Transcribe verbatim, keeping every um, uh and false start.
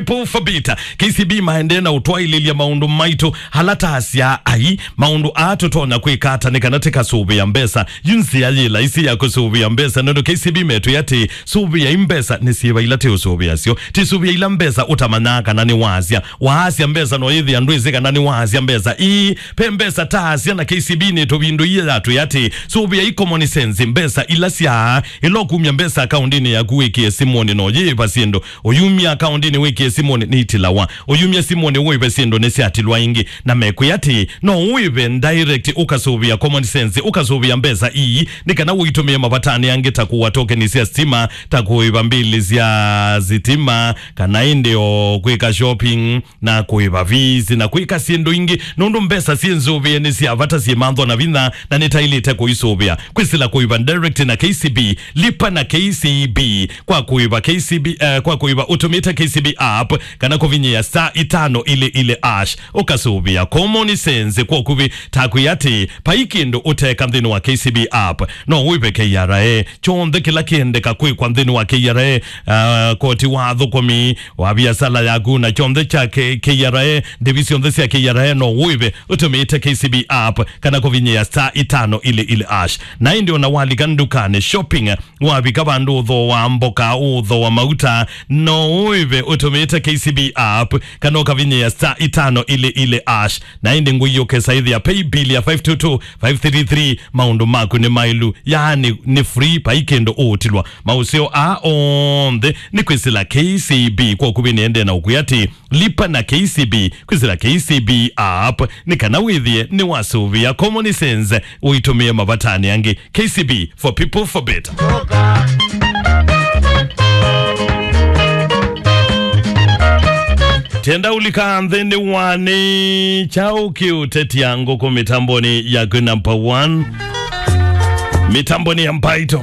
People for Better. K C B maendee na ũtwaĩlĩlya maũndũ maitũ ala ta asya ai, maũndũ aa tũtonya kwĩka ata nĩ kana tĩkasũvĩa mbesa. Yu nzĩa yĩ laisi ya kũsũvĩa mbesa, nũndũ K C B metwĩa atĩ, sũvĩai mbesa nĩ syĩva ila tĩũsũvĩasyo. Tĩsũvĩa ila mbesa ũtamanyaa kana nĩwaasya. Waasya mbesa no yĩthĩa ndwĩsĩ kana nĩwaasya mbesa. Ii, pe mbesa ta asya na K C B nĩtũvindũie yatwĩa atĩ, sũvĩai common sense, mbesa ila sya, ĩla ũkumya mbesa akaũndinĩ yaku wĩkĩe simũnĩ no yĩva syĩndũ. Ũyumya akaũndinĩ wĩkĩe simũnĩ nĩitilawa. Ũyumya simũnĩ ũĩve syĩndũ nĩsyatilwa ĩngĩ. Na mekwĩa atĩ, no ũĩve direct ũkasũvĩa common sense, ũkasũvĩa mbesa ii, nĩ kana ũitũmĩe mavatanĩ angĩ ta kũa tokeni sya sitima, ta kũĩva mbili sya sitima, kana ĩndĩ o kwĩka shopping, na kũĩva fees, na kwĩka syĩndũ ingĩ, nũndũ mbesa syĩ nzũvĩe nĩ sya vata, syĩ mantho na vinya, na nĩtaĩlĩte kũisũvĩa. Kwĩsĩla kũĩva direct na K C B, lipa na K C B, kwa kũĩva K C B, eh, kwa kũĩva ũtũmĩte K C B app, kana kũvinyĩa star itano ili ili hash, ũkasũvĩa common sense kwa ũkuvĩ, ta kwĩa atĩ, vai kĩndũ ũteka nthĩnĩ wa K C B app, no ũĩve K R A, kyonthe kĩla kĩendeka kwĩkwa nthĩnĩ wa K R A, ah, koti wa athũkũmi, wa viasala yaku na kyonthe kya K-, K R A, ndĩvi syonthe sya K R A no ũĩve ũtũmĩĩte K C B app kana kũvinyĩa star itano ili ili hash. Na ĩndĩ ona walika ndukanĩ shopping, wavika vandũ ũthooa mboka, ũthooa mauta, no ũĩve ũtũmĩĩte K C B app kana ũkavinyĩa star itano ili ili hash. Na ĩndĩ ngũi ũkesa ĩthĩa pay bill ya five two two five three three, maũndũ maku nĩ maĩlu, yaani nĩ free, vai kĩndũ ũũtilwa. Maũseo aa onthe nĩ kwĩsĩla K C B. Kwa ũkuvĩ nĩendee na ũkwĩa atĩ, lipa na K C B, kwĩsĩla K C B app, nĩ kana wĩthĩe nĩwasũvĩa common sense ũitũmĩe mavatanĩ angĩ. K C B, for people, for better. Tenda ulika nthĩnĩ wa nĩ kyaũ kĩũtetia ngũkũ mĩtambonĩ yaku number one. Mĩtambonĩ ya Mbaitũ.